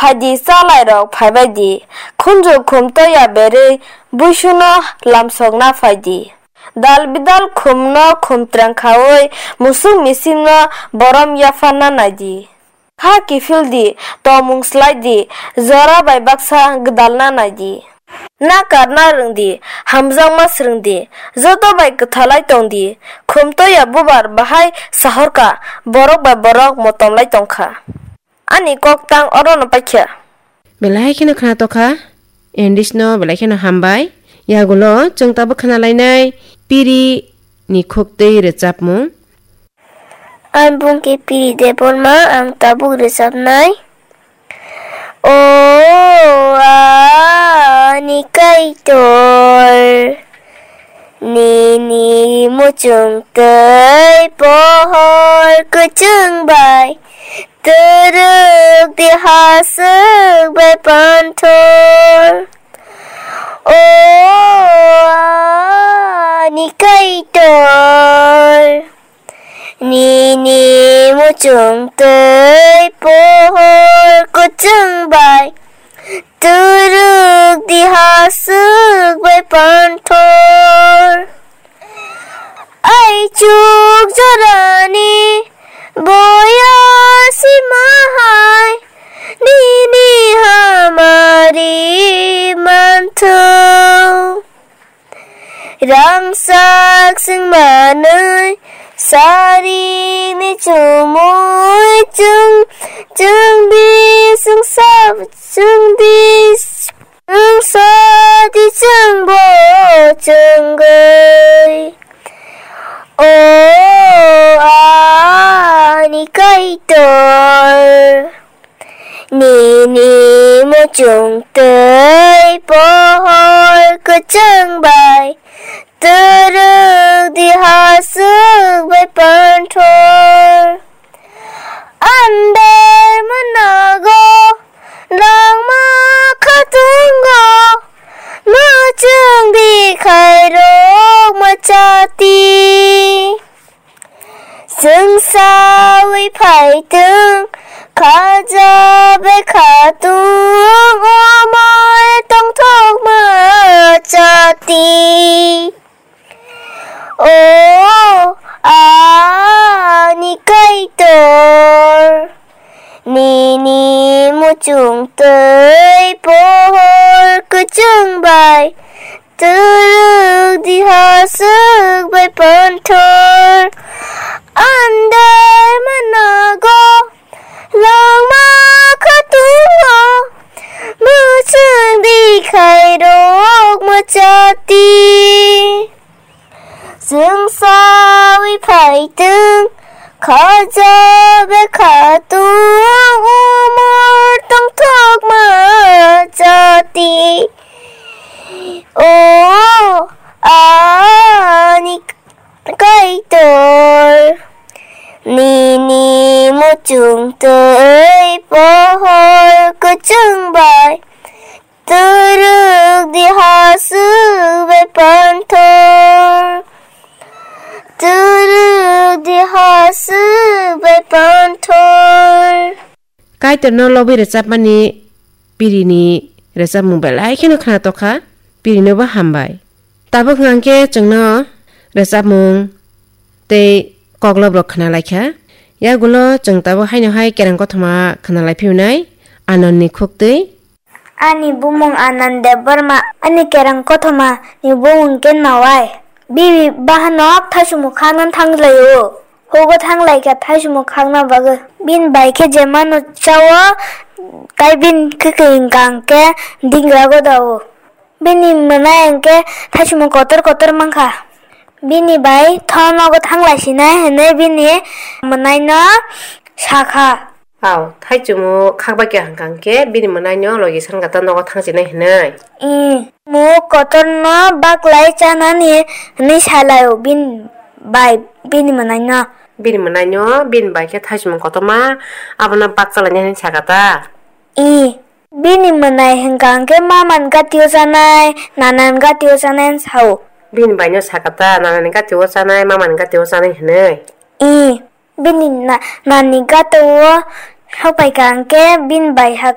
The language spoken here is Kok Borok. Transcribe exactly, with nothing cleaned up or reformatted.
Phaidi, chalairok, phaibai di. Khunju khum toya berwi buisuno lamsokna phaidi. Dal bidal khumno khum trang khaui musuk misimno borom yapharna naidi. Kha kiphil di, tongmung slai di, jora bai baksa gwdalna nai di. Na karna rwng di, hamjakma swrwng di, joto bai kwthalai tong di. Khum toya bubar bahai sahorka, borok bai borok motomlai tongkha. Ani kok tang orono paikha. Belai kheno khna tokha, English no belai kheno hambai. Yagulo chwng tabuk khna lainai piri ni khuk twi rwchapmung. Ang bung khe Piri Debbarma, ang tabuk rwchapnai. O ani Kaitor, nini muchung twi pohor kwchwng bai twrwk di haswk bai panthor. O ani Kaitor, nini muchung twi pohor kwchwng bai twrwk di haswk bai panthor. Aichuk jorani boya sima hai nini hamari manthu. Rangchak chwng manwi sarini chumui chwng, chwng di chwng sa, chwng di chwng sa di chwng bo chwngwi. O ani Kaitor, nini muchung twi pohor kwchwng bai twrwk di haswk bai panthor. Andar manago langma khatungo muchung di khairok machati. Chwng saui phaitwng, khaja bai khatung, omor tongthokma chati. O ani Kaitor, nini muchung twi pohor kwchwng bai twrwk di haswk bai panthor. Andar manago langma khatungo muchung di khairok machati. Chwng saui phaitwng, khaja bai khatung, umor tongthokma chati. O ani Kaitor, nini muchung twi pohor kwchwng bai twrwk di haswk bai panthor. Twrwk di haswk bai panthor. Kaitorno lobwi rwchapmani pirini rwchapmung belai kheno khna tokha, pirinobo hambai. Tabuk hwnkhe chwngno rwchapmung tei koklobrok khna laikha. Yagulo chwng tabuk haino hai kereng kothoma khna lai phiyunai Anandni khuktwi. Ani bumung Anand Debbarma, ani kereng kothoma ni bumung khe Nawai. Bini bahanok thaichumung khakna thanglaio. Hugo thanglaikha thaichumung khakna bagwi. Bini bai khe jemano chao, tai bini kwkhwrwng hwnkhe dingra godao. Bini mwnai hwnkhe thaichumung kotor kotor mankha. Bini bai tho nogo thanglaisinai hwnwi bini mwnaino sakha. Au, thaichumung khakbai khe hwnkha hwnkhe bini mwnaino logi sankha ta nogo thangsinai hwnwi. Ih, muk kotorno baklai chanani hwnwi salaio bini bai bini mwnaino. Bini mwnaino bini bai khe thaichumung kotorma abono bak chalainai hwnwi sakha ta. Ih, bini mwnai hwnkha hwnkhe maman gatio chanai, nanan gatio chanai hwn sao. Bini baino sakha ta, nanani gatio chanai, mamani gatio chanai hwnwi. Ih, bini na-, nani gatio sokpaikha hwnkhe bini bai ha-,